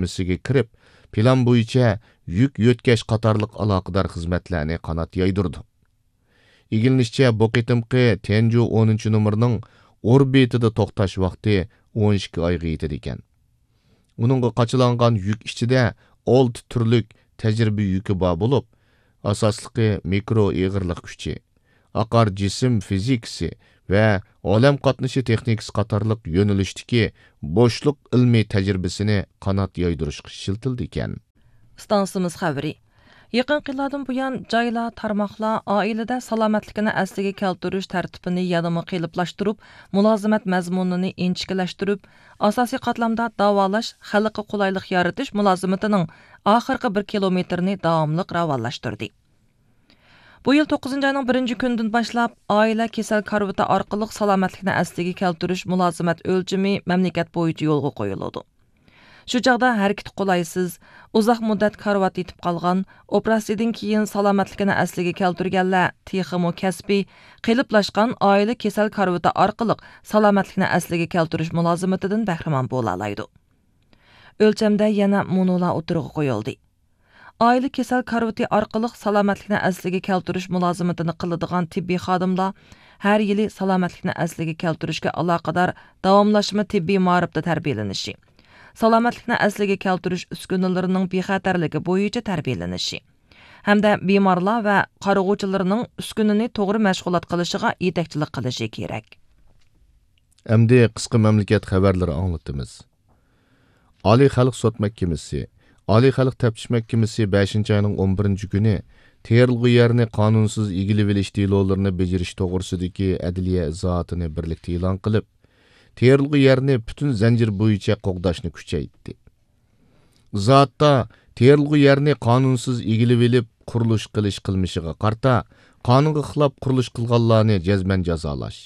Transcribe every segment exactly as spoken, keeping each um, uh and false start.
ئۆتمىسىگە كىرىپ، پىلان بويىچە يۈك يۆتكەش قاتارلىق ئالاقىدار خىزمەتلەرنى قانات يايدۇرىدۇ. ئىگىلىنىشىچە، بۇ قېتىمقى تيەنجۇ ئونىنچى نومۇرىنىڭ ئوربىتىدا توختاش ۋاقتى ئون ئىككى ئايغا يېتىدىكەن. ئۇنىڭغا قاچىلانغان يۈك ئىچىدە ئالتە تۈرلۈك تەجرىبە يۈكى بار بولۇپ، ئاساسلىقى مىكرو ئېغىرلىق كۈچى، ئاقار جىسىم فىزىكىسى ۋە ئالەم قاتنىشى تېخنىكىسى قاتارلىق يۆنىلىشتىكى بوشلۇق ئىلمىي تەجرىبىسىنى قانات يايدۇرۇشقا ئىشلىتىلىدىكەن. ئىستانسىمىز خەۋىرى. يېقىنقى يىللاردىن بۇيان، جايلار، تارماقلار ئائىلىدە سالامەتلىكىنى ئەسلىگە كەلتۈرۈش تەرتىپىنى يەنىمۇ قېلىپلاشتۇرۇپ، مۇلازىمەت مەزمۇنىنى ئىنچىكىلەشتۈرۈپ، ئاساسىي قاتلامدا داۋالاش، خەلققە قولايلىق يارىتىش مۇلازىمىتىنىڭ ئاخىرقى بىر كىلومېتىرىنى داۋاملىق راۋانلاشتۇردى. بۇ يىل توققۇزىنچى ئاينىڭ بىرىنچى كۈنىدىن باشلاپ، ئائىلە كېسەل كارىۋىتى ئارقىلىق سالامەتلىكنى ئەسلىگە كەلتۈرۈش مۇلازىمەت ئۆلچىمى مەملىكەت بويىچە يولغا قويۇلىدۇ. شۇ چاغدا ھەرىكىتى قولايسىز، ئۇزاق مۇددەت كارىۋات يېتىپ قالغان، ئوپېراتسىيىدىن كېيىن سالامەتلىكىنى ئەسلىگە كەلتۈرگەنلەر تېخىمۇ كەسپىي، قېلىپلاشقان ئائىلە كېسەل كارىۋىتى ئارقىلىق سالامەتلىكنى ئەسلىگە كەلتۈرۈش مۇلازىمىتىدىن بەھرىمەن بولالايدۇ. ئۆلچەمدە يەنە مۇنۇلار ئوتتۇرىغا قويۇلدى. ئائىلە كېسەل كارىۋىتى ئارقىلىق سالامەتلىكنى ئەسلىگە كەلتۈرۈش مۇلازىمىتىنى قىلىدىغان تېببىي خادىملار ھەر يىلى سالامەتلىكنى ئەسلىگە كەلتۈرۈشكە ئالاقىدار داۋاملاشما تېببىي مائارىپتا تەربىيەلىنىشى، سالامەتلىكنى ئەسلىگە كەلتۈرۈش ئۈسكۈنىلىرىنىڭ بىخەتەرلىكى بويىچە تەربىيەلىنىشى ھەمدە بىمارلار ۋە قارىغۇچىلارنىڭ ئۈسكۈنىنى توغرا مەشغۇلات قىلىشىغا يېتەكچىلىك قىلىشى كېرەك. ئەمدى قىسقا مەملىكەت خەۋەرلىرى ئاڭلىتىمىز. ئالىي خەلق سوت مەھكىمىسى، ئالىي خەلق تەپتىش مەھكىمىسى بەشىنچى ئاينىڭ ئون بىرىنچى كۈنى تېرىلغۇ يەرنى قانۇنسىز ئىگىلىۋېلىش دېلولىرىنى بېجىرىش توغرىسىدىكى ئەدلىيە ئىزاھاتىنى بىرلىكتە ئېلان قىلىپ، تېرىلغۇ يەرنى پۈتۈن زەنجىر بويىچە قوغداشنى كۈچەيتتى. ئىزاھاتتا تېرىلغۇ يەرنى قانۇنسىز ئىگىلىۋېلىپ قۇرۇلۇش قىلىش قىلمىشىغا قارىتا، قانۇنغا خىلاپ قۇرۇلۇش قىلغانلارنى جەزمەن جازالاش،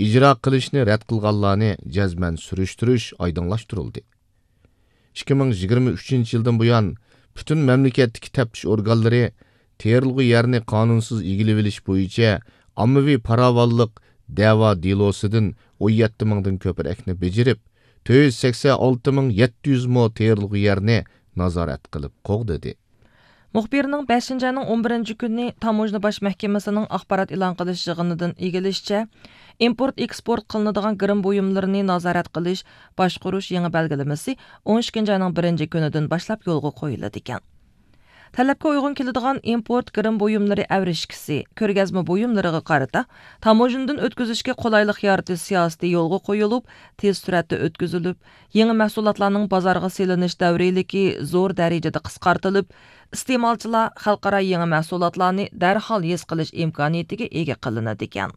ئىجرا قىلىشنى رەت قىلغانلارنى جەزمەن سۈرۈشتۈرۈش ئايدىڭلاشتۇرۇلدى. ئىككى مىڭ يىگىرمە ئۈچىنچى يىلدىن بۇيان، پۈتۈن مەملىكەتتىكى تەپتىش ئورگانلىرى تېرىلغۇ يەرنى قانۇنسىز ئىگىلىۋېلىش بويىچە ئاممىۋى پاراۋانلىق دەۋا دېلوسىدىن ئون يەتتە مىڭدىن كۆپرەكنى بېجىرىپ، تۆت يۈز سەكسەن ئالتە مىڭ يەتتە يۈز مو تېرىلغۇ يەرنى نازارەت قىلىپ قوغدىدى. مۇخبىرنىڭ بەشىنچى ئاينىڭ ئون بىرىنچى كۈنى تاموژنا باش مەھكىمىسىنىڭ ئاخبارات ئېلان قىلىش يىغىنىدىن ئىگىلىشىچە، ئىمپورت ئېكسپورت قىلىنىدىغان گىرىم بۇيۇملىرىنى نازارەت قىلىش، باشقۇرۇش يېڭى بەلگىلىمىسى ئون ئىككىنچى ئاينىڭ بىرىنچى كۈنىدىن باشلاپ يولغا قويۇلىدىكەن. تەلەپكە ئۇيغۇن كېلىدىغان ئىمپورت گىرىم بۇيۇملىرى ئەۋرىشكىسى، كۆرگەزمە بۇيۇملىرىغا قارىتا تاموژنىدىن ئۆتكۈزۈشكە قولايلىق يارىتىش سىياسىتى يولغا قويۇلۇپ، تېز سۈرئەتتە ئۆتكۈزۈلۈپ، يېڭى مەھسۇلاتلارنىڭ بازارغا سېلىنىش دەۋرىيلىكى زور دەرىجىدە قىسقارتىلىپ، ئىستېمالچىلار خەلقئارا يېڭى مەھسۇلاتلارنى دەرھال ھېس قىلىش ئىمكانىيىتىگە ئىگە قىلىنىدىكەن.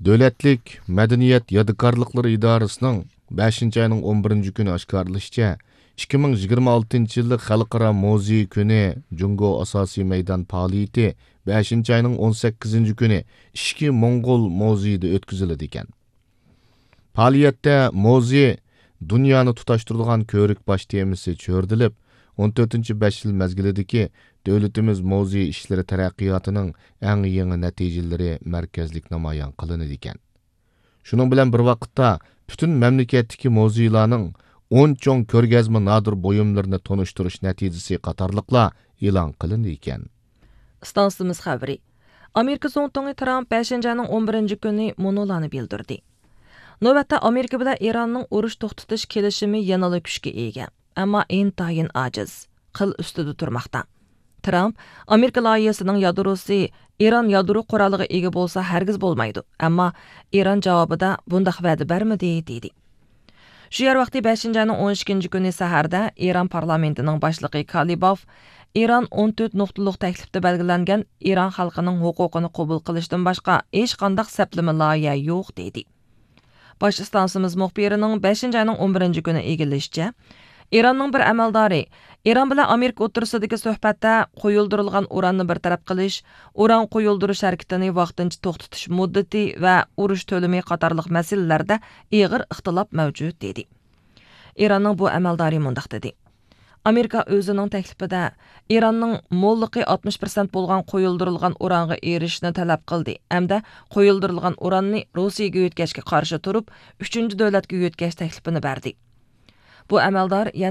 دۆلەتلىك مەدەنىيەت يادىكارلىقلىرى ئىدارىسىنىڭ بەشىنچى ئاينىڭ ئون بىرىنچى كۈنى ئاشكارىلىشىچە، ئىككى مىڭ يىگىرمە ئالتىنچى يىللىق خەلقئارا مۇزېي كۈنى جۇڭگو ئاساسىي مەيدان پائالىيىتى بەشىنچى ئاينىڭ ئون سەككىزىنچى كۈنى ئىچكى موڭغۇل مۇزېيىدا ئۆتكۈزۈلىدىكەن. پائالىيەتتە مۇزېي دۇنيانى تۇتاشتۇرىدىغان كۆۋرۈك باش تېمىسى چۆرىدىلىپ، ئون تۆتىنچى بەش يىل مەزگىلىدىكى دۆلىتىمىز مۇزېي ئىشلىرى تەرەققىياتىنىڭ ئەڭ يېڭى نەتىجىلىرى مەركەزلىك نامايان قىلىنىدىكەن. شۇنىڭ بىلەن بىر ۋاقىتتا، پۈتۈن مەملىكەتتىكى مۇزېيلارنىڭ ئون چوڭ كۆرگەزمە نادىر بۇيۇملىرىنى تونۇشتۇرۇش نەتىجىسى قاتارلىقلار ئېلان قىلىندىكەن. ئىستانسىمىز خەۋىرى. ئامېرىكا زۇڭتۇڭى ترامپ بەشىنچى ئاينىڭ ئون بىرىنچى كۈنى مۇنۇلارنى بىلدۈردى. نۆۋەتتە ئامېرىكا بىلەن ئىراننىڭ ئۇرۇش توختىتىش كېلىشىمى يەنىلا كۈچكە ئىگە، ئەمما ئىنتايىن ئاجىز، قىل ئۈستىدە تۇرماقتا. ترامپ، ئامېرىكا لايىھىسىنىڭ يادروسى ئىران يادرو قورالىغا ئىگە بولسا ھەرگىز بولمايدۇ، ئەمما ئىران جاۋابىدا بۇنداق ۋەدە بەرمىدى، دېدى. شۇ يەر ۋاقتى بەشىنچى ئاينىڭ ئون ئىككىنچى كۈنى سەھەردە ئىران پارلامېنتىنىڭ باشلىقى كالىباف ئىران ئون تۆت نۇقتىلىق تەكلىپتە بەلگىلەنگەن ئىران خەلقىنىڭ ھوقۇقىنى قوبۇل قىلىشتىن باشقا ھېچقانداق سەپلىمە لايىھە يوق، دېدى. باش ئىستانسىمىز مۇخبىرىنىڭ بەشىنچى ئاينىڭ ئون بىرىنچى كۈنى ئىگىلىشىچە، ئىراننىڭ بىر ئەمەلدارى ئىران بىلەن ئامېرىكا ئوتتۇرىسىدىكى سۆھبەتتە قويۇلدۇرۇلغان ئۇراننى بىر تەرەپ قىلىش، ئۇران قويۇلدۇرۇش ھەرىكىتىنى ۋاقتىنچە توختىتىش مۇددىتى ۋە ئۇرۇش تۆلىمى قاتارلىق مەسىلىلەردە ئېغىر ئىختىلاپ مەۋجۇت، دېدى. ئىراننىڭ بۇ ئەمەلدارى مۇنداق دېدى: ئامېرىكا ئۆزىنىڭ تەكلىپىدە ئىراننىڭ موللۇقى ئاتمىش پىرسەنت بولغان قويۇلدۇرۇلغان ئۇرانغا ئېرىشىشنى تەلەپ قىلدى ھەمدە قويۇلدۇرۇلغان ئۇراننى روسىيەگە يۆتكەشكە قارشى تۇرۇپ، ئۈچىنچى دۆلەتكە يۆتكەش تەكلىپىنى بەردى. بۇ ئەمەلدار يەنە